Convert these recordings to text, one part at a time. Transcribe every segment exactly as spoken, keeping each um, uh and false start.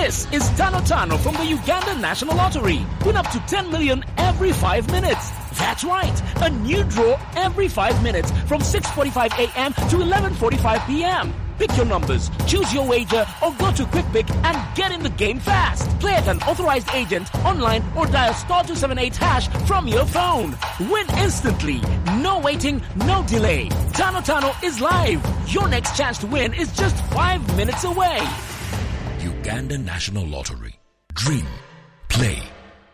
This is Tano Tano from the Uganda National Lottery. Win up to ten million every five minutes. That's right, a new draw every five minutes from six forty-five a m to eleven forty-five p m. Pick your numbers, choose your wager, or go to Quick Pick and get in the game fast. Play at an authorized agent, online, or dial star two seven eight hash from your phone. Win instantly. No waiting, no delay. Tano Tano is live. Your next chance to win is just five minutes away. Uganda National Lottery. Dream, play,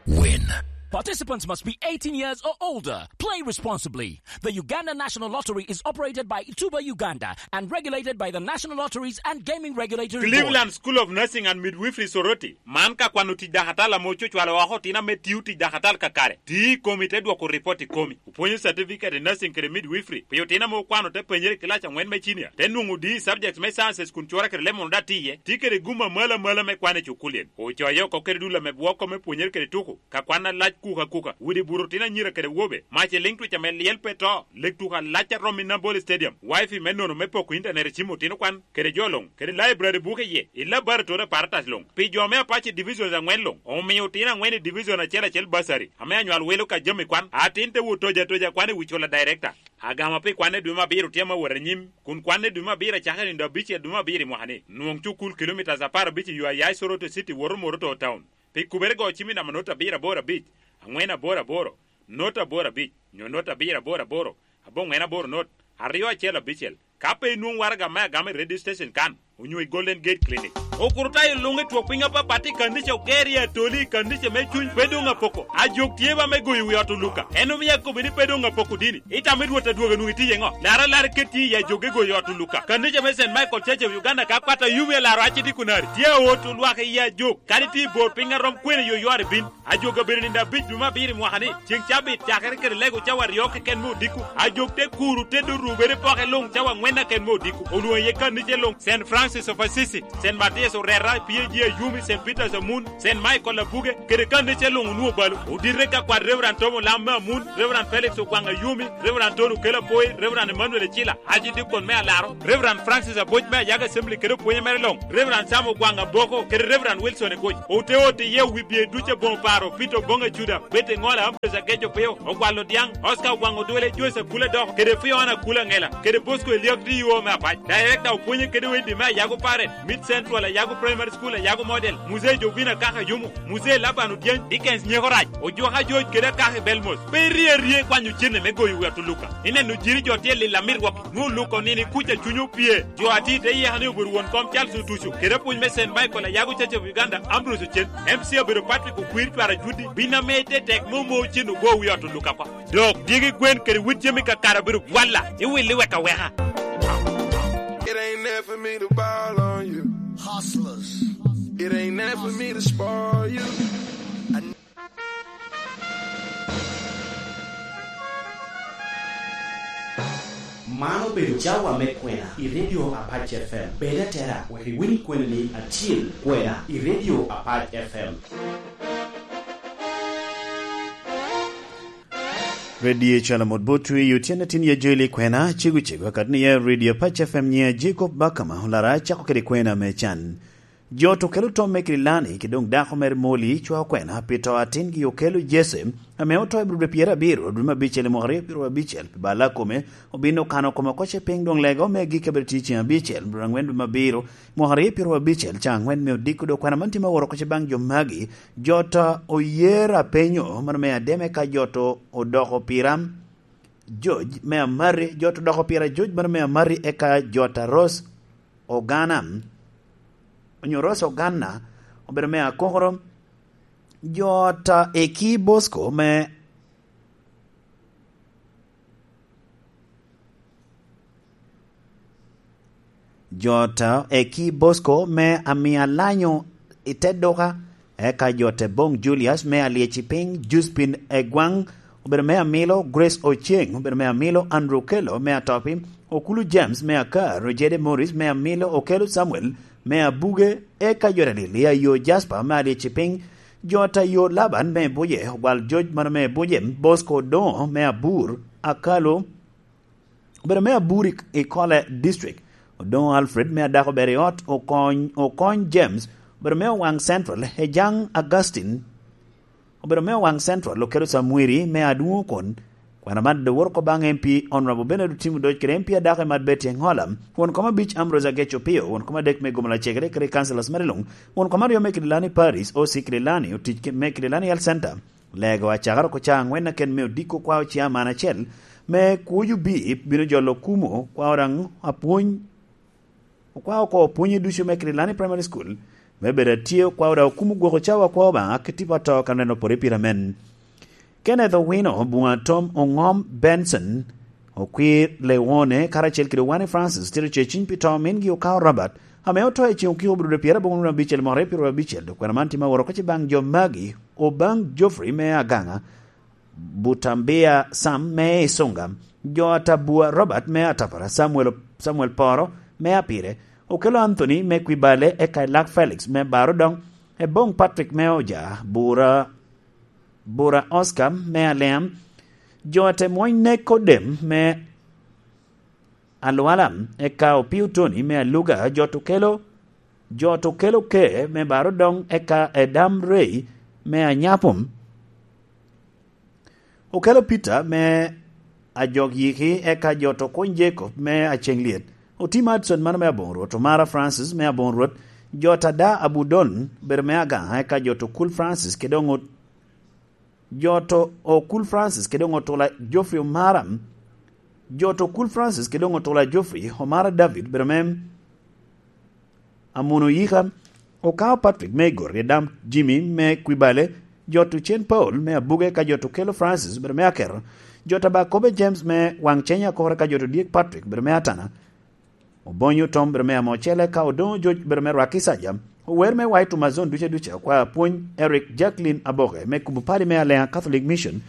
win. Participants must be eighteen years or older. Play responsibly. The Uganda National Lottery is operated by Tuba Uganda and regulated by the National Lotteries and Gaming Regulatory Board. Cleveland School of Nursing and Midwifery Soroti. Man ka kwano tic dakatal ame ococwalo oko otino ame tio tic dakatal kakare. Ti i komi te dwoko ripot i komi. Opwonyo certificate i nursing kede midwifery pi otino ame okwano te penyere i kilac angwen me cinia, te nwoŋo D E subjects me sciences kun cura kede lemon daŋ tye iye. Tye kede gum amalo amalo me kwan i cukulien. Ocoye oko kede dul ame bwoko me pwonyere kede tuko, ka kwan alac kuka kuka, widi buto otino anyira kede wobe, mac i liŋ twic ame lyel pe to, lek tuko alac a romo i Nambole Stadium, wifi me nono me poko internet i cim otino kwan, kede jo luŋ, kede library buke iye, i laboratory apparatus luŋ. Pi jo me Apache Divisions angwen luŋ, omio otino angwen i Division acel acel bursary, ame anywal wilo ka jami kwan. Atin te wot toja toja kwan i wi cola director. Agama pi kwan i dwe me abiro tye ame wot anyim, kun kwan i dwe me abiro acakere nino abicel dwe me abiro i mwaka-ni. Nwoŋ cukul kilomitas apar abic i yo aya i Soroti City woto Moroto Town. Pi kubere go cim i namba not abiro aboro abic, angwen aboro aboro, not aboro abic, nyo not abiro aboro aboro, aboŋwen aboro not, aryo acel abicel. Ka pe inwoŋ waraga me agama i radio station kan, onyo i Golden Gate Clinic. Okurutayo luŋ i twok piny apapat i kanica oger i Atoli i kanica me cuny pe doŋ apoko. Ajok tye ba me goyo wi ot Oluka. En omio akobo ni pe doŋ apoko dini. Itamo i Rwot adwogo nwoŋo itye iye ŋo? Lar alar iket tye i ajok i goyo ot Oluka. Kanica me Saint Michael Church of Uganda ka kwat Ayumi alaro aci dikunari. Tye aot olwak i ajok. Kadi tye i bor piny arom kwene yo ywar ibin. Ajok abedo nino abic dwe me abiro i mwaka-ni. Ceng cabit cakere kede lego cawa aryo keken me odiko. Ajok te kuru te dorubere poke luŋ cawa angwen aken me odiko. Olwoŋo iye kanica luŋ, Saint Francis of Assisi, Saint Matthias Orera, P A G Ayumi, Saint Peter's Amun, Saint Michael Abuge, kede kanica luŋ onwoŋo balo. Odite ka kwat Reverend Tom Olam me Amun, Reverend Felix Ogwang Ayumi, Reverend Tony Okello Apoi, Reverend Emmanuel Ecila, Archdeacon me Alaro, Reverend Francis Aboc me Ayago Assembly kede opwonye mere luŋ, Reverend Sam Ogwang Aboko, kede Reverend Wilson Egoc. Ote ote iye wi bye ducu aboŋo paro, Peter Oboŋ Acuda, Betty Ŋola, Ambrose Ageco Pio, Ogwal Odiaŋ, Oscar Ogwang Odwele, Joyce Akula Dok, kede Fiona Akula Ŋela, kede Bosco Eliak D O me Apac. Director opwonye kede Wendy me Ayago Parent, Mid Central Ayago Primary School, Ayago Model, Muzee Jovina Kaka Yumu, Muzee Laban Odyeny, Dickens Nyeko Rac, Ojwaka George kede Akaka Belmos. Pe irie arie ikwanyo cene me goyo wi ot Oluka. Ineno jiri jo tye lil amit wok, nwoŋo Oluka onini kuca cuny opye. Jo ati te yeka ni obedo won kom Charles Otuco, kede apwony me Saint Michael Ayago Church of Uganda, Ambrose Ocen, M C abedo Patrick Okwir Cwara Judi, bin ame ite tek me omo cen ogo wi ot Oluka kwa. Dok dyegi gwen kede wit jami kakare obedo walla, iwilli wek aweka. It ain't there for me to ball on you. Hustlers. It ain't there for me to spoil you. Man obedo cawa me kwena i Radio Apac F M. Bed atera wek iwiny kwena ni atyel kwena i Radio Apac F M. Radio Calamot Botwi, otyeno tin ya Joel Ikwena, cego cego, akati ni ya Radio Apac F M, nyiŋa Jacob Bakama, olara acako kede kwena me can. Jo to kelo tomme kede Lani, ki doŋ dako mere Molly, cwao kwena pi to atingi Okello Jesse, ame oto i Abril dwe pyerabiro, dwe me abicel i mwaka aryo pyerabicel, pi bal a kome, obino kano kome oko ce piny doŋ lega ome agikki abedo tye ceŋ abicel, Abril angwen dwe me abiro, mwaka aryo pyerabicel, ca angwen me odiko dok kwena man tye me woro oko ce baŋ jo magi, jo to oyer apenyo, mano me ademe ka jo to odoko pira, George me Amari, jo to odoko pira George mano me Amari, eka jo to Rose Ogana, onyo Rose Ogana, obedo me Akokoro, jo to Eki Bosco me, jo to Eki Bosco me Amia Lanyo i te duka, eka jo to Bong Julius me Alyeci Piny, Juspin Egwang, obedo me Amilo, Grace Oceng, obedo me Amilo, Andrew Kello me Atopi, Okulu James me Akar, Ojede Morris me Amilo, Okello Samuel me Abuge, eka jo to Lilia yo Jasper me Alyeci Piny, jo to yo Laban me Buje, Ogwal George mano me Buje, Bosco Odongo me Abur, Akalo, obedo me Abur i, i Kole District, Odongo Alfred me Adako Beriot, Okony, Okony James, Obedo me Owaŋ Central, Ejang Augustine. Obedo me Owaŋ Central, okelo Samwiri me Adwoŋ Okon. Kwena man doŋ woro oko baŋ M P Honorable Bernard Otim Odoc kede M P adako i Mad Betty Engola, won kom abic Ambrose Agec Opio, won kom adek me Gomola Cegere kede councillors mere luŋ, won kom aryo me Kidilani Parish, O C Kidilani, otic ke-, me Kidilani Health Center. Lego acakere oko ca aŋwen aken me odiko kwao ciaman acel me kuc obi bino jolo kumo kwao daŋ apwony. Okwao oko pwonye ducu me Kidilani Primary School me bedo atye okwao daŋ okumo gwoko cawa akwa Obaŋa ki tipo ato ka neno pore pire amen. Kenneth Owino, Bunga Tom Oŋom Benson, Okwir Lewone, karacel kede Owane Francis, tito ce ciny pi to mingi Okao Robert, ame oto i ceŋ okiko obedo pyeraboro wunu abicel mwaka aryo pyeraboro abicel, dok kwena man tye ma woro oko ci baŋ jo magi, Obaŋ Geoffrey me Agaŋa, Butambia Sam me Isunga, jo Atabua Robert me Atapara, Samuel, Samuel Poro me Apire, Okello Anthony me Kwibale, eka Elak Felix me Barodoŋ, Eboŋ Patrick me Oja, Bura, Bura Oscar me Aliam, jo Atemwony Neko Dem me Alwala, eka Opio Tony me Aluga, jo Tukelo, jo Tukelo Ke me Barodoŋ, eka Edam Rey me Anyapum, Okello Peter me Ajok Yiki, eka jo Tokuny Jacob me Aceŋ Lyet, Otim Hudson mano me Aboŋo Rwot, Omara Francis me Aboŋo Rwot, jo Tada Abudon bedo me Agaŋa, eka jo Tokul Francis kede oŋut, jo to Okul Francis kede oŋo tula Geoffrey Omara, jo to Okul Francis kede oŋo tula Geoffrey Omara David bedo me Amuno Yika, Okao Patrick me Igor, Edam Jimmy me Kwibale, jo to Cen Paul me Abuge, ka jo to Kelo Francis bedo me Akero, jo to Bakobe James me Waŋ Cenya Akore, ka jo to Dyek Patrick bedo me Atana, Obonyo Tom bedo me Amocele, ka Odoŋo Joc bedo me Rwaki Saja. Ower me White Amazon duce duce, okwa apwony Eric Jacqueline Aboke me kubo padi me Alea Catholic Mission.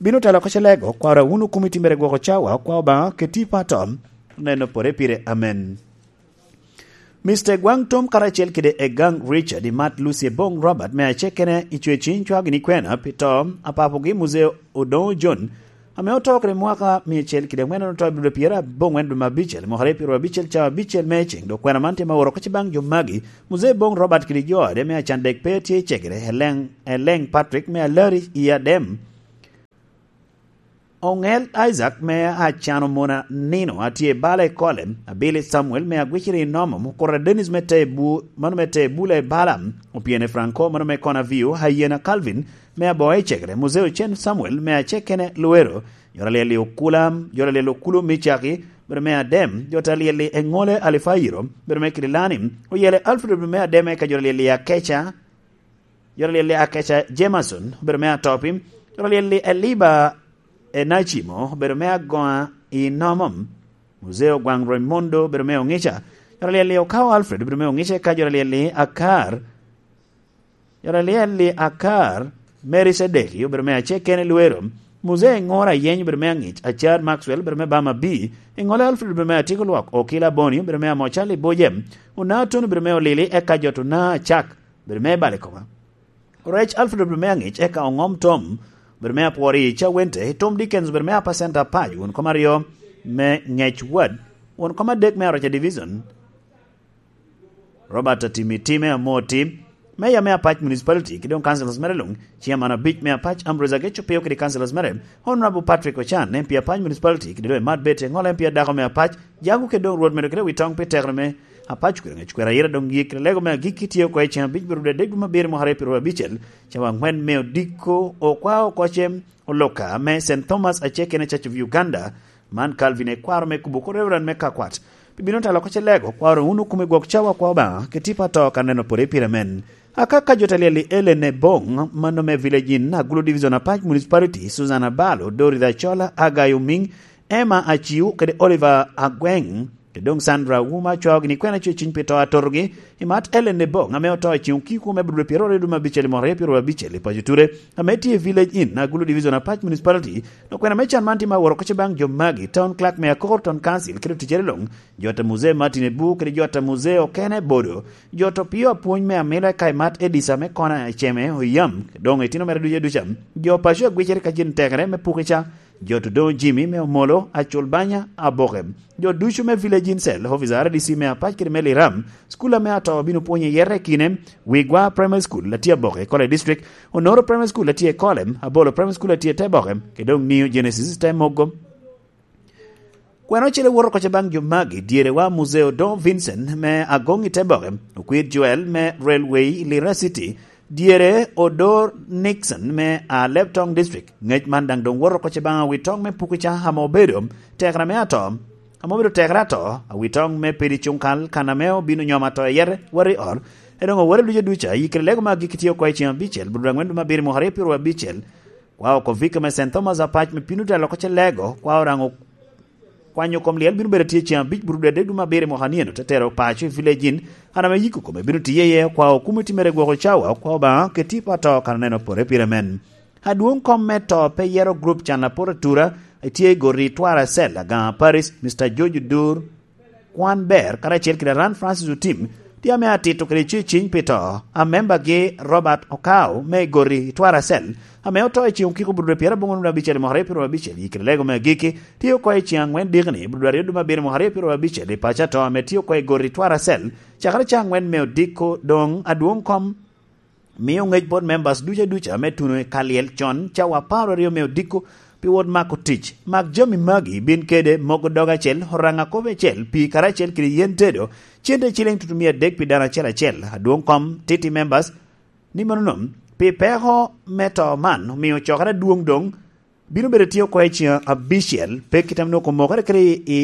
Bino telo oko ce lego, kwaro wunu kumi timere gwoko cawa, okwa Obaŋa keti pato, neno pore pire. Amen. Mister Gwaŋ Tom karacel kede Egaŋ Richard, i Mat Lucy Eboŋ Robert me Acekene, i Cweciny cwao gini kwena pi to apapogi Muzee Odoŋo John, ame oto kede mwaka mia acel kede aŋwen, en oto i dwe pyeraboro aŋwen dwe me abicel, mwaka aryo pyeraboro abicel, cawa abicel me eceŋ, dok kwena man tye ma oro oko ci baŋ jo magi, Muzee Boŋ Robert kede jo ade me acan dek pe tye i cegere, Eleŋ, Eleŋ Patrick me Alari i Adem, Oŋel Isaac me Acano Mona Nino atye i bala i Kole, Abili Samuel me Agwiciri i Nomo, Mukura Dennis me Tebu, mano me Tebula i bala, Opiene Franco, mano me Konavio, Hayena Calvin me Aboŋo i cegere, Muzee Ocen Samuel me Acekene Luero, Jor Alyel i Okula, Jor Alyel Okulu me Caki, bedo me Adem, Jor Alyel i Eŋole Alifayiro, bedo me Kidilani, Oyele Alfred bedo me Adem, eka Jor Alyel i Akeca, Jor Alyel i Akeca Jameson, bedo me Atopi, Jor Alyel i Eliba Enacimo, bedo me Agoŋa i Nomom, Muzee Ogwaŋ Raimundo, bedo me Oŋica, Jor Alyel i Okao Alfred, bedo me Oŋica, eka Jor Alyel i Akar, Jor Alyel i Akar, Mary Cedeki obedo me Acekene Luero, Muzee Ŋora Ayeny obedo me Aŋic, Acar Maxwell obedo me Bama B, Eŋole Alfred obedo me Atyeko Lwak, Okila Boni obedo me Amocal i Boje, Ona Tony obedo me Olili, eka jo to Ona Acak obedo me Balikoba. Orec Alfred obedo me Aŋic, eka Oŋom Tom obedo me Apwori i Cawente, Tom Dickens obedo me Apa Center Apac, won kom aryo me Ŋec Ward, won kom adek me Aroca Division, Robert Atimi Time Amoti, Meya me Apac Municipality, kede doŋ councillors mere luŋ, Chairman abic me Apac Ambrose Ageco Pio kede councillors mere, Honorable Patrick Ochan, M P Apac Municipality, kede doŋ Emat Betty Eŋola, M P adako me Apac, Jago kede doŋ Rwot medo kede wi toŋ pi tekere me Apac Cukwero Ŋec Kwero Ayira doŋ yik kede lego me agikki tye oko i ceŋ abic pi rwode adek dwe me abiro mwaka aryo pi rwode abicel, cawa aŋwen me odiko okwa oko cem oloka me Saint Thomas Acekene Church of Uganda, Man Calvin ekwaro me kubo oko Reverend me Kakwat. Pi bino talo oko ce lego, kwaro wunu kumi gwok cawa kwa Obaŋa, ki tipo ato ka neno pore pire men. Aka ka jo ta lyel i Ellen Ebong, mano me Village Inn, Agulu Division Apac Municipality, Susan Abalo, Dorothy Achola, Agai Omiŋ, Emma Aciu, kede Oliver Agweng, kede doŋ Sandra Wuma cwao gini kwena cwe ciny pi to atotogi, i mat Ellen Ebong, ame oto i ceŋ okiko me Abudur pyeraryo dwe me abicel i mwaka aryo pyeraryo abicel i paco Ture, ame tye i Village Inn, Agulu Division Apac Municipality, Dok kwena me can man tye ma woro oko ce baŋ jo magi, Town Clerk me Akoko Town Council, kede oticere luŋ, jo ta Muzee Martin Ebu, kede jo ta Muzee okene Bodo, jo ta Opio Apwony me Amilo eka i mat Edisa me Kona Eceme Oyam, doŋ itino mere ducu aduca, jo paco agwicere ka jin tekere me pukica, Jo Tudong Jimmy me Omolo, Acul Banya, Aboke. Jo ducu me Village Incel, Office R D C me Apac kede me Liram, cukul ame ato bino pwonyo i yere kine, Wigwa Primary School, atye Aboke, Kole District, Onoro Primary School, atye Kole, Abolo Primary School, atye Teboke, kede doŋ New Genesis, te Mogo. Kwena ocele woto oko baŋ jo magi, dyerewa Muzeo Don Vincent me Agoŋ i Teboke, Okwir Joel me Railway i Lira City, dyere Odor Nixon me Alebtong District. Ŋec man daŋ doŋ woto oko baŋ awitoŋ me Pukuca ame obedo tekere me ato, ame obedo tekere ato, awitoŋ me Pedi Cuŋkal kan ame obino nyom ato i yere wari ot, e doŋ owere duca duca, i kede lego me agikki tye oko i ceŋ abicel, bur dwe aŋwen dwe me abiro mwaka aryo pyeraryo abicel, kwa oko vika me Saint Thomas Apac me Pinuta loko ce lego, kwa oraŋo kwanyo kom lyel bino bedo tye ceŋ abic bur dwe adek dwe me abiro mwaka nino, te tero paco i Village Inn, an ame yiko kome bino tiye iye, kwa okumiti mere gwoko cawa, kwa Obaŋa keti pa to kan oneno pore pire men. Adwoŋ kom me to pe yero grup can apot atura, etye i goti Twara Cell, Agaŋa Paris, Mister George Odur, Kwan Ber, karacel kede Aran Francis Otim, tye ame atito kede ceciny pi to, a membagi Robert Okao me goti Twara Cell, ame oto i ceŋ okiko bur dwe pyeraboro abicel i mwaka aryo pyeraryo abicel, i kede lego me agikki, tye oko i ceŋ aŋwen dikni, bur dwe aryo dwe me abiro mwaka aryo pyeraryo abicel, i paco ato ame tye oko i goti Twara Cell, cakere ca aŋwen me odiko. Doŋ adwoŋ kom mio ŋec bot members duca duca me tuno i kalyel con cawa apar aryo me odiko pi wot mako tic. Mak jami magi bin kede mogo dog acel, oraŋa kop acel, pii karacel kede yen tedo, cente iciliŋ tutumia adek pi dano acel acel. Adwoŋ kom titi members ni mano nom, pi peko me to man omio cokere adwoŋ doŋ bino bedo tye oko i ceŋ abicel, pe kit ame nwoŋo omokere kede i, i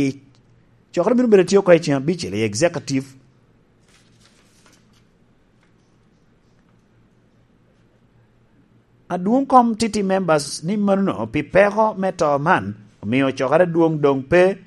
cokere bino bedo tye oko i ceŋ abicel i executive. Adwoŋ kom titi members ni mano pi peko me to man, omio cokere adwoŋ doŋ pe,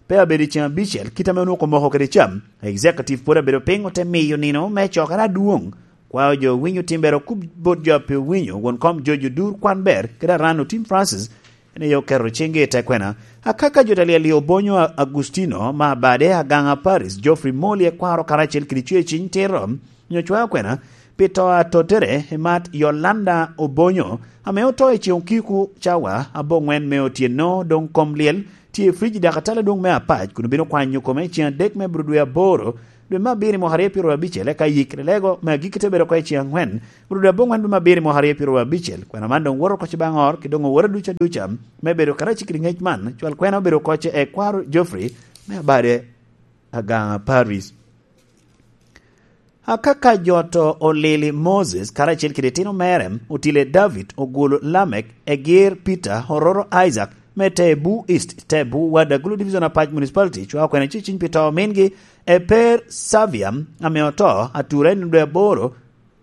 pe abedo i ceŋ abicel, kit ame onwoŋo omoko kede cam. Executive pwod abedo piny ote miyo nino me cokere adwoŋ. Kwao jo winyo timbere okub bot jo a pe owinyo, won kom George Odur Kwan Ber, kede Aran Otim Francis, en aye oketo ciŋgi i te kwena. Akaka jo talyel i Obonyo, Agustino ma Abade, Agaŋa Paris, Geoffrey Moli ekwaro karacel kede cweciny tito, nyo cwayo kwena, pi to a tottere i mat Yolanda Obonyo, ame oto i ceŋ okiko cawa aboŋwen me otyeno, doŋ kom lyel tye i frij i dakatala adwoŋ me Apac, kun obino kwanyo kome i ceŋ adek me bur dwe aboro, dwe me abiro i mwaka aryo pyeraryo abicel, eka yik lego me agikki te bedo oko i ceŋ aŋwen, bur dwe aboŋwen dwe me abiro i mwaka aryo pyeraryo abicel. Kwena man doŋ woto oko baŋ ot, ki doŋ owote duca duca, me bedo karacel kede ŋec man, cwal kwena obedo oko i kwaro Geoffrey me Abade, Agaŋa Paris. Akaka jo to olili Moses karacel kede itino mere, otile David, ogwolo Lamek, Egir Peter, ororo Isaac, me Tebu East, Tebu, Wadagulo Division Apac Municipality, cwa okwena ceciny pi to omingi, Eper Savia, ame oto, atura i nino dwe aboro,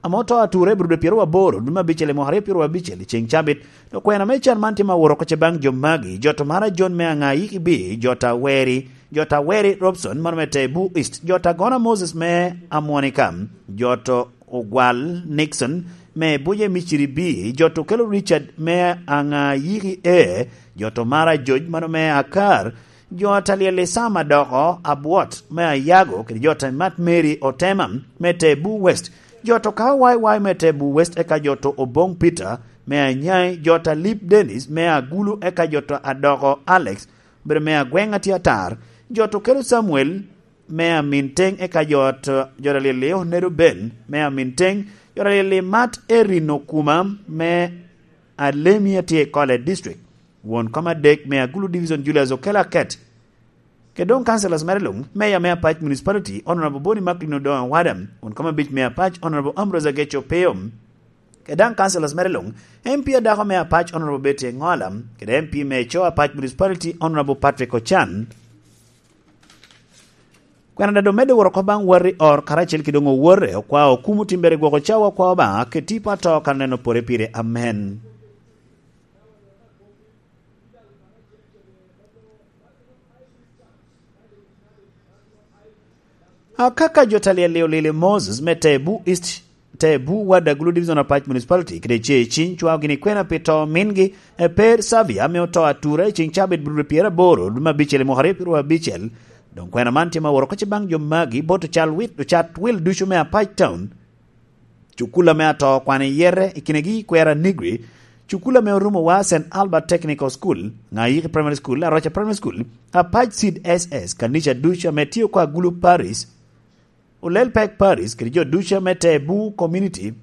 ame oto atura i bur dwe pyeraryo aboro, dwe me abicel i mwaka aryo pyeraryo abicel, i ceŋ cabit. Okwena me can man tye ma woro oko baŋ jo magi, jo to mara John me Aŋa Yiki Bi, jo ta Weri, jo ta Weri Robson, mano me Tebu East, jo ta Gona Moses me Amwonika, jo to Ogwal Nixon me Buje Miciri Bi, jo to Kelo Richard me Aŋa Yiki E, jo to mara Joj, mano me Akar, jo ta Lyel Isam Adoko Abwot me Ayago, kede jo ta Mat Mary Otema me Tebu West, jo to Kawo Wai Wai me Tebu West, eka jo to Oboŋ Peter me Anyai, jo ta Lip Dennis me Agulu, eka jo to Adoko Alex, obedo me agweŋ atye atar, jo to Kelo Samuel me Amin Teŋ, eka jo to, jo ta Lyel Onedo Ben me Amin Teŋ, jo ta Lyel Mat Erin Okuma me Alemi atye i Kole District, won kom adek me Agulu Division Julius Okello Aket, kede doŋ councillors mere luŋ, Mayor me Apac Municipality, Honorable Boni Macklin Odongo Awada, won kom abic me Apac, Honorable Ambrose Ageco Opio, kede daŋ councillors mere luŋ, M P adako me Apac, Honorable Betty Engola, kede M P me Co Apac Municipality, Honorable Patrick Ochan. Kwena daŋ doŋ medde woro oko baŋ wati or karacel kede doŋ owote, okwa okumo timbere gwoko cawa okwa Obaŋa, keti pa to kan oneno pore pire. Amen. Akaka jo ta Lyel Lio Lili Moses me Tebu East, Tebu, Ward Agulu Division Apac Municipality, kede ce ciny cwao gini kwena pi to mingi, Eper Savia, ame oto atura i ceng cabit bur pyeraboro, dwe me abicel i mwaka aryo pyeraryo abicel. Doŋ kwena man tye ma woro kocce baŋ jo magi, bot ocal wit, ocat wil ducu me Apac Town. Cukula me ato kwan i yete, i kinegi kwera Negri, Cukul ame orumo wa, Saint Albert Technical School, Ŋayiki Primary School, Aroca Primary School, Apac Seed S S, kanica ducu ame tye oko Agulu Parish, Olel Pek Parish, kede jo ducu ame te Bu Community,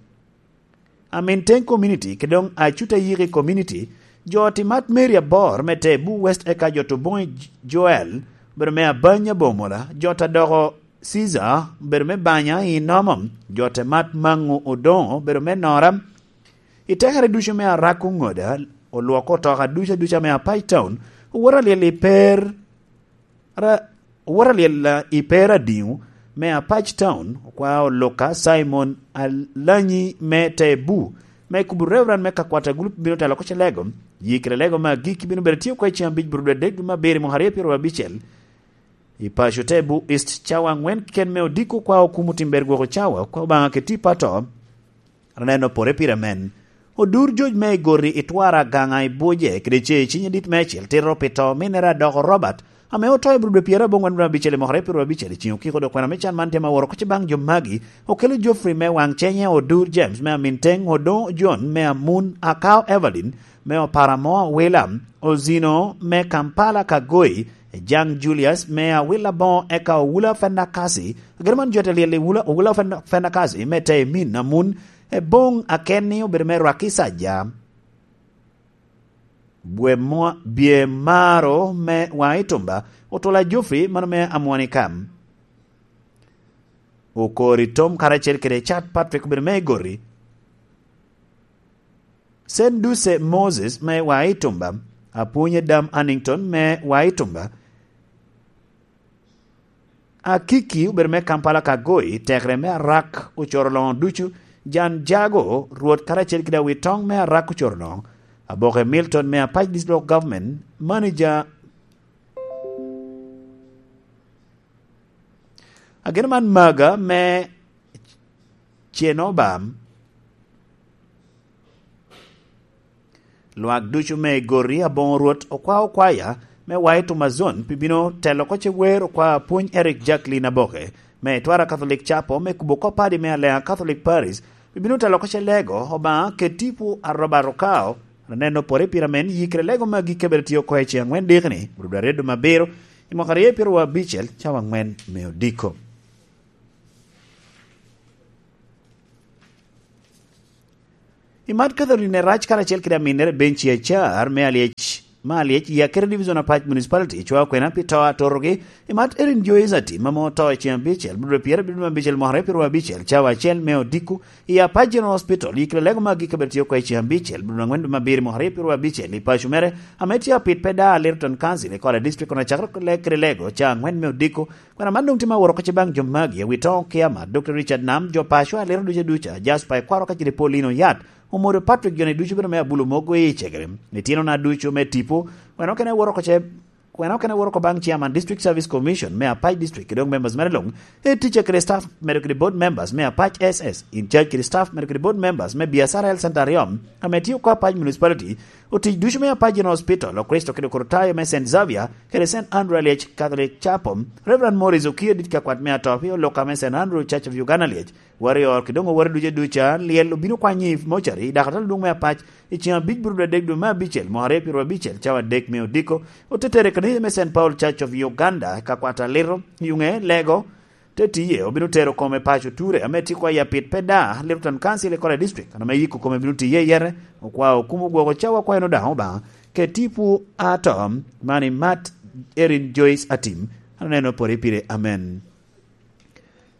Amin Teng Community, kede doŋ Acuta Yiki Community, jo oti mat Mary Abor me te Bu West, eka jo to boŋi Joel, bedo me Abanya Bomola, jo ta doko Caesar, bedo me Banya i Nomom, jo te mat Maŋu Odoŋo, bedo me Nora, i tekere ducu me Arak Oŋoda, olwoko otoka ducu aduca me Apac Town, owoto alyel i per, ra-, owoto alyel, ah, i per adiŋo me Apac Town, okwa oluka Simon Alanyi me te Bu, me kubo Reverend me kakwata gulup bino telo oko ce lego, yikere lego me agikki bino bedo tye oko i ceng abic burubdadek dwe me abiro i mwaka aryo pyeraryo abicel. I paco te Bu East, cawa aŋwen keken me odiko kwa okumo timber gwoko cawa, kwa Obaŋa keti pato, aneno pore pire men. Odur joc me igori i twara gaŋa i buje, kede ce i ciny adit me acel tito pi to minere adoko Robert, ame oto i burubdwe pyeraryo aboŋwen dwe abicel i mwaka aryo pyeraryo abicel i ceng okiko dok kwena me can man tye ma woro koc baŋ jo magi, okelo Geoffrey me waŋ cenye, Odur James me Amin Teng, Odoŋo John me Amun, Akao Evelyn me Oparamoa Wila, Ozino me Kampala Kagoi, Jaŋ Julius me Awila Boŋo, eka Owula Fenda Kasi. Agero man jo te lyel i Wula, Owula Fenda, Fenda Kasi me te i min Amun, e boŋ akenni obedo me Rwaki Saja. Bwe mwa-, bye maro me waŋ i tumba, Otula Geoffrey, mano me Amwoni Kam. Okori Tom karacel kede Chad Patrick obedo me igori. Sen Duce Moses me wa i tumba, Apwony Adam Hannington me wa i tumba, Akiki obedo me Kampala Kagoi, tekre me Arak ocoro loŋo ducu, Jan Jago, Rwot karacel kede Awitoŋ me Arak ocoro loŋo, Aboke Milton me Apac District Local Government, Manager. Ageno man maga me Cenobam. Lwak ducu me Gori aboŋo Rwot okwao kwaya me wa i Tumazon pi bino telo oko ce wer okwa Apwony Eric Jacqueline Aboke me Twara Catholic Chapel me kubo kop padi me Aleŋa Catholic Parish, pi bino telo oko ce lego Obaŋa kede tipo a Robert Okao, aneno pore pira men yikere lego me agikki abed tye oko i ceŋ aŋwen dikni, rubda redo me abiro, i mwaka aryo pyeraryo abicel, cawa aŋwen me odiko. I mat Catherine Erac karacel kede aminnere Benci Acar me Alyec, me Alyec i Akere Division Apac Municipality, cwa kwena pi to atorogi. I mat Erin Joyce Atim ame oto i ceŋ abicel, budwe pyerabicel me abicel mwaka aryo pyeraryo abicel, cawa acel me odiko, i Apac General Hospital, yikere lego me agikki abed tye oko i ceŋ abicel, budwe aŋwen dwe me abiro mwaka aryo pyeraryo abicel, i paco mere, ame tye apit pe da Lyttelton Council, i Kola District, kono acakere kede lego, ca aŋwen me odiko, Kwena man doŋ tye ma woro oko ce baŋ jo magi, awi toŋ kia ma, Doctor Richard Nam, jo paco, aliro duca duca, Jasper Ekwaro ka cide Paulino Yat, Omodo Patrick, joni ducu bedo me abulo mogo i cegere. Ityeno na ducu me tipo, kwena okene woro oko ce, kwena okene woro oko baŋ Chairman District Service Commission me Apac District, kede doŋ members mere luŋ, e teacher kede staff, medo kede board members me Apac S S, in charge kede staff, medo kede board members me Biacara Health Center aryo, ame tye oko Apac Municipality, otic ducu me Apac General Hospital, Okristo kede Okrutayo me Saint Xavier, kede Saint Andrew Alyec Catholic Chapel, Reverend Morris Okiya, dit ka kwat me Atopi, Oloka me Saint Andrew Church of Uganda Alyec, Warrior, kede doŋ owore ducu duca, lyel obino kwanyo i mocari, dok atalo dwoŋ me Apac, i ceŋ abic burubdwe adek dwe me abicel, mwaka aryo pyeraryo abicel, cawa adek me odiko, ote tere i kanisa me Saint Paul Church of Uganda, ka kwat aliro, yuŋe, lego, te tiye, obino tero kome paco Ture, ame tye kwa i apit pe da, Lyttelton Council i Kola District, an ame yiko kome bino tiye i yete, okwa okumo gwoko cawa kwa en odaŋ Obaŋa, ke tipo ato, man i mat Erin Joyce Atim, an aneno pore pire, amen.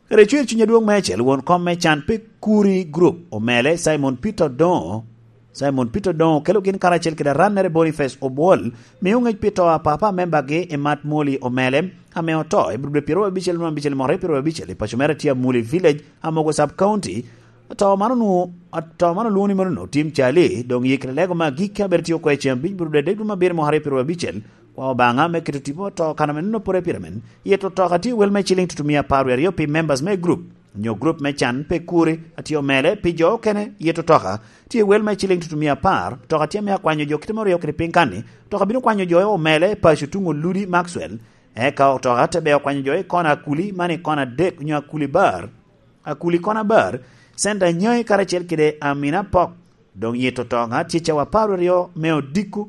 Kede cwer cuny adwoŋ meicel, won kom me can pe Kuri Group, omele Simon Peter Odoŋo, Simon Peter Odoŋo okelo gin karacel kede arannere Boniface Obwol, mio ŋec pi to a papa membagi i mat Moli omele, ame oto i budwe pyeraryo abicel dwe abicel mwaka aryo pyeraryo abicel i paco mere tye Amuli Village, Amogo Sub County. To man onwoŋo, to man olwoŋo ni mano Tim Cali, doŋ yikre lego me agikki abedo tye oko i ceŋ abic budwe adek dwe me abiro mwaka aryo pyeraryo abicel, kwa Obaŋa me keto tipo to kan ame nonno pore pire men. Yeto otoka tye wel me ciliŋ tutumia apar wie aryo pi members me group, nyo group me can pe Kuri, atye omele pi jo okene. Yeto otoka tye wel me ciliŋ tutumia apar, otoka tye me akwanyo jo kite me oryo kede piny kanni, otoka bino kwanyo jo omele paco tuŋ Oludi Maxwell, eka otoka te beo kwanyo jo i kona Akuli, man i kona adek nyo Akuli Bar, Akuli kona Bar, Center Nyai karacel kede Amina Pok, Doŋ yito to ŋa tye cawa apar aryo me odiko.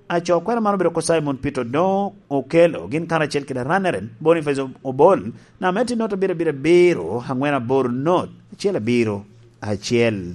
Aco kwena man obedo ko Simon Peter Odongo Okello, gin karacel kede Raneren Boniface Obol, namba me tye note abiro abiro abiro, angwen aboro not, acel abiro, acel.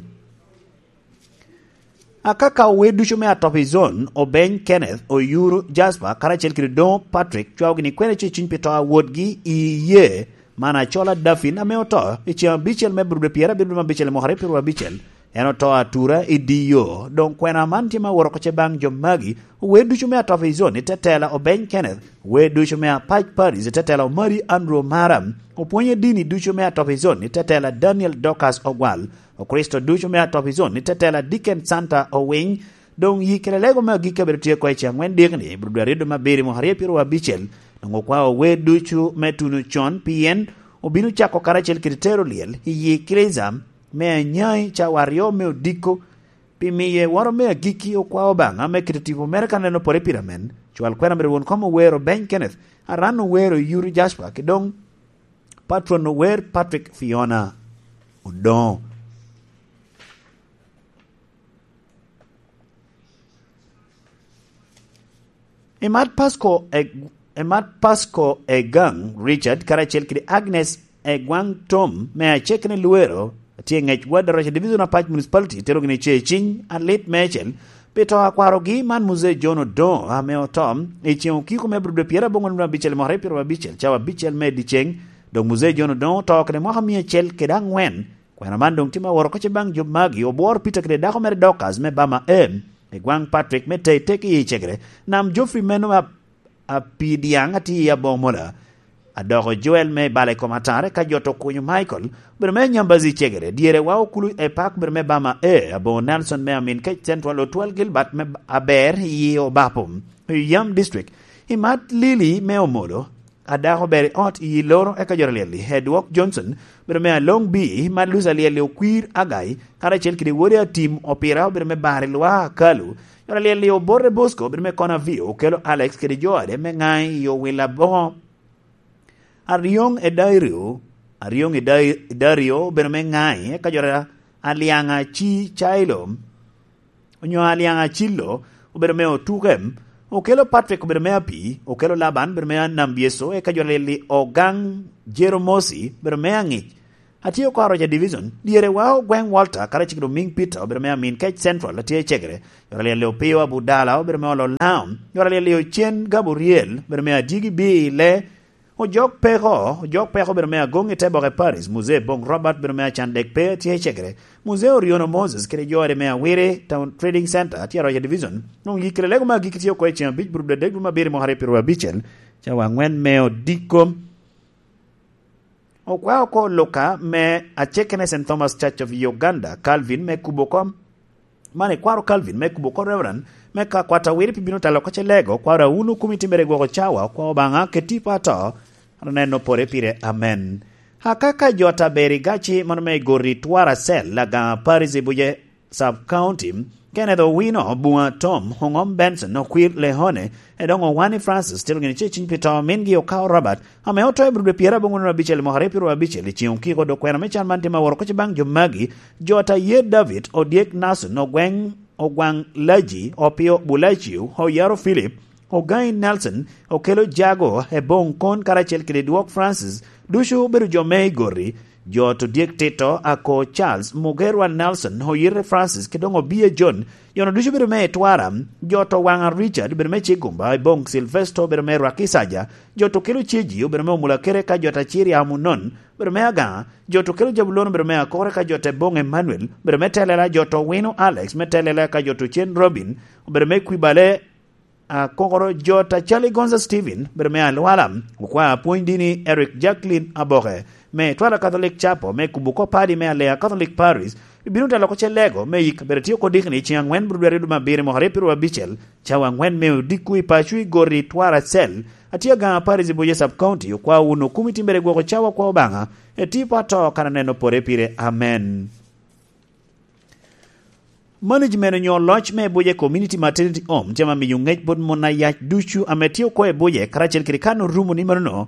Akaka owe ducu me Atopi Zone, Obeny Kenneth, Oyuru Jasper, karacel kede Odongo Patrick, cwao gini kwena ce cuny pi to a wotgi i iyee, man acola Dafin ame oto i ceŋ abicel me Abril pyerabiro abicel i mwaka aryo pyeraryo abicel. En oto atura i di yo. Doŋ kwena man tye ma woro oko ce baŋ jo magi, owe ducu me Atopi Zone i tetela Obeny Kenneth, owe ducu me Apac Paris i tetela Omari Andrew Omara, opwonye dini ducu me Atopi Zone i tetela Daniel Dorcas Ogwal, Okricito ducu me Atopi Zone i tetela Dickens Santa Owiny. Doŋ yi kede lego me agikki abedo tye oko i ceŋ angwen dikni, Abril aryo dwe me abiro i mwaka aryo pyeraryo abicel. Doŋ okwao owe ducu me tuno con, pien obino cako karacel kede tero lyel i yi Eklezia me Anyai cawa aryo me odiko. Pi miye woro me agikki, okwao Obaŋa me keto tipo mere ka neno pore pire amen. Cwal kwena mere won kom owero Beny Kenneth, Aran owero Yuri Jasper, ki doŋ Patron ower Patrick Fiona Odongo. Emat Pasco e, Emat Pasco Egang Richard karacel kede Agnes Egwang Tom me Acekene Luero, atye i ŋec Ward Araca Division Apac Municipality, tero gini ce i ciny alit meicel pi to akwarogi man Muzee John Odongo ame oto i ceŋ okiko me Abril dwe pyerabongwen abicel i mwaka aryo pyeraryo abicel, cawa abicel me dyeceŋ. Dok Muzee John Odongo oto kede mwaka mia acel kede angwen. Kwena man doŋ tye ma woro oko ce baŋ jo magi, obworo Peter kede dako mere Dorcas me Bama M, i gwaŋ Patrick me Tei Teki i Cegere, nam Geoffrey meno a, a pi Diaŋ atye i Aboŋo Mola, adoko Joel me bala i kom atare ka jot okunyo Michael, obedo me Nyambazi i Cegere, dyere wa okulu e pak obedo me Bama A, Aboŋo Nelson me Amin Kec Central, Otwal Gilbert me Aber i Obapo, i Yam District, i Mat Lili me Omolo, a dako ber i ot i loro eka jo aryel-li, Edwok Johnson, obedo me Along B, Mat Lucy aryel-li, Okwir Agai, karacel kede wode Atim Opira, obedo me Bar i Lwa Akalu, jo aryel-li, Obote Bosco, obedo me Kona V, Okelo Alex kede jo ade me Ŋai i Owil Aboŋo, Aryoŋ Edario, Aryoŋ Edai-, Edario, obedo me Ŋai, eka jo a-, Alyaŋa Ci Cailo, onyo Alyaŋ Acillo, obedo me Otukem, Okelo Patrick obedo me Api, Okelo Laban obedo me Anambyeso, eka jo aryel-li Ogaŋ Jeromosi obedo me Aŋic, atye oko Aroca Division, dyere wa Ogweŋ Walter, karacel kede Omiŋ Peter obedo me Amin Kec Central, atye i Cegere, jo aryel-li Opio Abudala obedo me Olo Laŋo, jo aryel-li Ocen Gabriel obedo me Adyegi B i Le, Ojok Peko, Ojok Peko obedo me Agoŋ i te boke Paris, Muzee Boŋ Robert obedo me Acan Dek Pe, tye i Cegere, Muzee Oriono Moses kede jo ade me Awiri Town Trading Center, tye Aroca Division, nwoŋo yikere lego me agikki tye oko i ceŋ abic, Abril adek dwe me abiro i mwaka aryo pyeraryo abicel, cawa angwen me odiko. Okwao oko Luka me Acekene Saint Thomas Church of Uganda, Calvin me kubo kom, man ikwaro Calvin me kubo kom Reverend me ka kwat awiri pi bino talo oko ce lego, kwaro Aunu Kumi Timbere gwoko cawa, okwao Obaŋa keti pa to, aneno pore pire, amen. Akaka jot aber i gaci mano me Igori Twara Cell, Lagaŋa Paris i Buje Sub County, Kenneth Owino, Buŋa Tom, Oŋom Benson, Okwir Lehone, Edoŋo Wani Francis, tero gini ce ciny pi to mingi Okao Robert, ame oto i Abril dwe pyerabongwen abicel i mwaka aryo pyeraryo abicel, i ceŋ okiko dok kwena me can man tye ma woro oko ce baŋ jo magi, jot aye David, Odyek Nason, Ogweŋ, Ogwaŋ Laji, Opio Bulaciu, Oyaro Philip, Ogaŋi Nelson, Okelo Jago, Eboŋ Kon karacel kede Dwok Francis, ducu obedo jo me Igori, jot Odyek Tito, Ako Charles, Mugerwa Nelson, Oyite Francis, kede doŋ Obiye John, jo-nu ducu obedo me Itwara, jot Owaŋa Richard, obedo me Cigumba, Eboŋ Silvesto, obedo me Rwakisaja, jot Okelo Ceji, obedo me Omulakere, ka jot Aciri Amunon, obedo me Agaŋa, jot Okelo Jabulon, obedo me Akore, ka jot Eboŋ Emmanuel, obedo me Telela, jot Owino Alex, me Telela, ka jot Ocen Robin, obedo me Kwibale, Akokoro, jot Acali Gonza Steven, obedo me Alwala, okwao apwony dini Eric Jacqueline Aboke, me Twala Catholic Chapel, me kubo oko padi me Alea Catholic Parish, bino telo oko ce lego me yik kabedo tye oko dikni i ceŋ angwen Abril dwe aryo dwe me abiro i mwaka aryo pyeraryo abicel, cawa angwen me odiko i paco i Gori Twara Cell, atye Agaŋa Parish i Buye Sub County, okwao wun okum i timbere gwoko cawa kwa Obaŋa, eti pa to kan aneno pore pire. Amen. Management onyo loc me Buje Community Maternity Home tye ma miyo ŋec bot mon ayac ducu ame tye oko i Buje karacel kede kan orumo ni manono,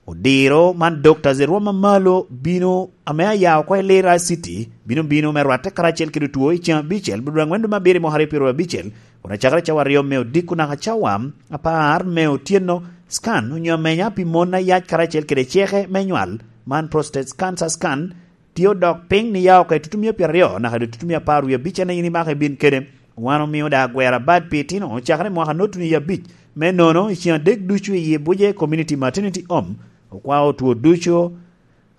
Odiro man Doctors i rwom amalo bino ame aya oko i Lira City, bino bino me rwatte karacel kede otwo i ceng abicel, bino dwaŋ wendo me abiro i mwaka aryo pyeraryo abicel, kun acakere cawa aryo me odiko naka cawa apar me otyeno. Scan onyo amenya pi mon ayac karacel kede ceke me nywal, man prostate cancer scan, tye odok piny ni ya oko i tutumia pyeraryo naka i tutumia apar wie abic, en aye in imako ibin kede. Wan omio da agwera bad pi itino cakere i mwaka notuni abic. Me nono, i ceng adek ducu i Ibuje Community Maternity Home, okwao otwo ducu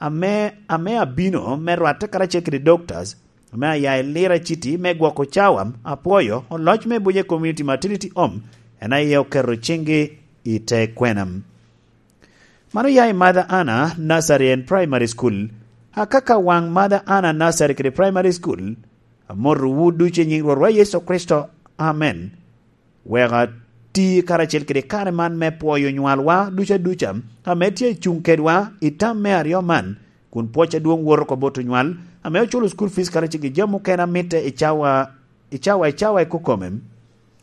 ame, ame abino me rwatte karacel kede doctors ame aya i Lira City me gwoko cawa. Apwoyo oloc me Ibuje Community Maternity Home, en aye oketo ciŋgi i te kwena. Man oya i Mother Anna Nursery and Primary School. Akaka waŋ Mother Anna Nursery kede Primary School, amotowu ducu i nyiŋ Rwotwa Yecu Kricito. Amen. Wek ati karacel kede kare man me pwoyo nywalwa duca duca, ame tye i cuŋ kedwa i tam me aryo man, kun pwoc adwoŋ woto oko bot onywal, ame oculo school fees karacel kede jami mukene a mitte i cawa, i cawa, i cawa i kokome,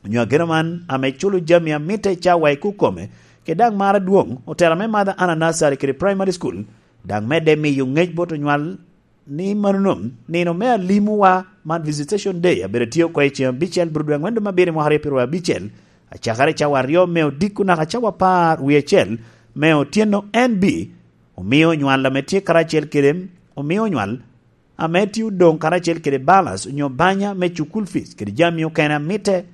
onyo ageno man ame culo jami a mitte i cawa i kokome, kede daŋ mar adwoŋ, otela me Mother Anna Nursery kede Primary School, daŋ medde miyo ŋec bot onywal ni manono, nino me alimowa man Visitation Day abedo tye oko i ceng abicel bro dwe aŋwen dwe me abiro i mwaka aryo pyeraryo abicel, acakere cawa aryo me odiko naka cawa apar wie acel me otyeno. N B, omio onywal ame tye karacel kede, omio onywal ame tye odoŋ karacel kede balas onyo banya me cukul fees kede jami okene a mitte,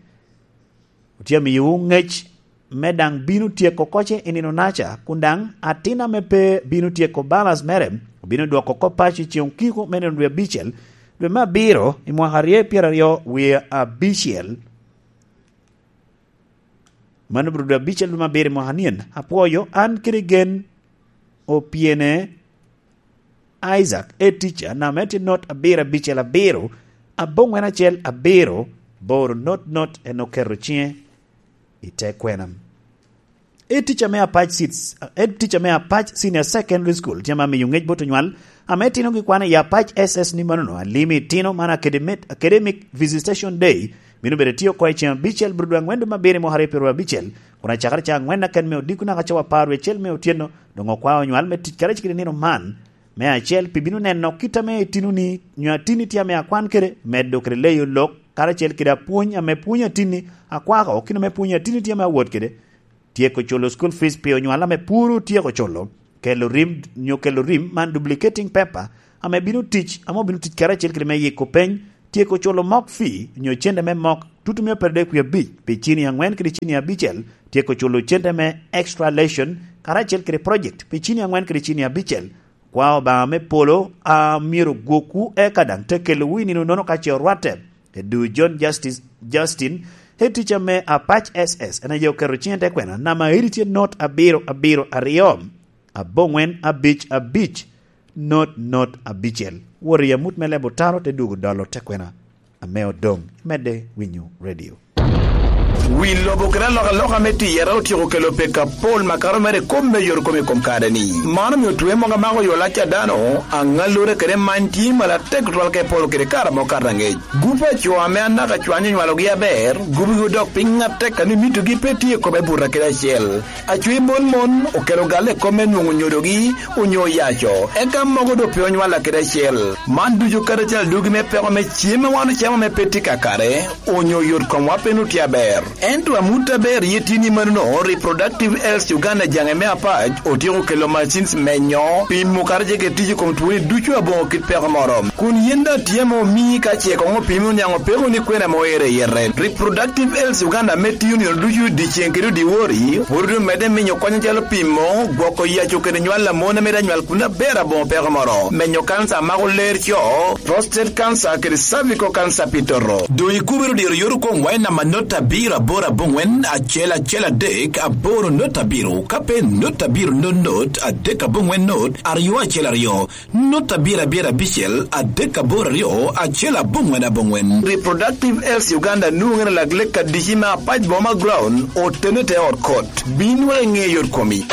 otye amiyowu ŋec me daŋ bino tyeko koce i nino naca, kun daŋ atin ame pe bino tyeko balas mere obino dwoko oko paco i ceng okiko me nino dwe abicel, dwe me abiro i mwaka aryo pyeraryo wie abicel. Mano bro dwe abicel dwe me abiro i mwaka nien. Apwoyo an kede gen opyene Isaac, e tica, name tye not abiro abicel abiro, aboŋwen acel abiro, boro not not, en oketo ciŋe i te kwena. E tica me Apac Seeds, e tica me Apac Senior Secondary School, tye ma miyo ŋec bot onywal, ame tinogi kwano i Apac S S ni manono, alimi itino man academic, academic visitation day, bino bedo tye oko i ceng abicel bro dwe aŋwen dwe me abiro i mwaka aryo pyeraryo abicel, kun acakere ca aŋwen aken me odiko naka cawa apar wie acel me otyeno, doŋ okwao onywal me tic karacel kede nino man, me acel, pi bino neno kit ame itinoni, nyo atinni tye ame akwan kede, medo kede leyo lok, karacel kede apwony ame pwonyo atinni, akwako, kit ame pwonyo atinni tye ame awot kede, tyeko culo school fees pi onywal ame pwod otyeko culo, kelo rim, nyo kelo rim man duplicating paper, ame bino tic, ame obino tic karacel kede me yiko peny, tyeko culo mock fee, nyo cente me mock, tutumia pyeraryo dek wie abic, pi cini aŋwen kede cini abicel, tyeko culo cente me extra lesson, karacel kede project, pi cini aŋwen kede cini abicel. Kwa Obaŋa me polo a myero gwokwu eka daŋ te kelowu i nino nono ka ce orwatte. Edu John Justice, Justin, e tica me Apac S S, en aye oketo ciŋe te kwena, nama iri tye not abiro abiro aryo, aboŋwen abic abic, not not abicel. Wot i amut me lebo taro te dwogo dolo te kwena ame odoŋ. Medde winyo radio. Wi lobo kede alokaloka me tiyere otyeko kelo pek apol makato mere i kop me yot kom i kom kare-ni. Man omio twe mogo amako yo lac a dano, aŋallure kede many tye malatek tutwal ka epolo kede kare amo kato aŋec. Gup a co ame anaka cwany onywalogi aber, gupgi odok piny atek a ni mitogi pe tye i kome buto kede acel. Acwe mon mon okelo galle i kop me nwoŋo nyodogi onyo yaco, eka mogo doŋ pe onywalla kede acel. Man ducu kadi acel dwogi me peko me cem a wan ocamo ame pe tye kakare, onyo yot komwa pe nut tye aber. Ento amut aber ye tye ni manono, Reproductive Health Uganda jaŋe me Apac otyeko kelo machines menyo, pimo kadi ce kede tic i kom twoni ducu aboŋo kit peko moro. Kun yen daŋ tye ame omii ka ce koŋ opimi oniaŋ opeko ni kwena ame oero i yete. Reproductive Health Uganda ame tiyo nino ducu dyeceŋ kede odiwori, pwod omedde minyo kony acalo pimo, gwoko yaco kede nywal a mon a mito anywal kun aber aboŋo peko moro, menyo kanca a mako ler co, prostate cancer kede cervical cancer pi toto. Doŋ ikubere diro yot okomwa i namba not abiro aboro aboŋwen acel acel adek aboro not abiro, ka pe not abiro not not adek aboŋwen not aryo acel aryo. Not abiro abiro abicel adek aboro aryo acel aboŋwen aboŋwen. Reproductive Health Uganda nwoŋere lak lek adici me Apac Boma Ground, otene te ot kot. Bin wek iŋe yot komi.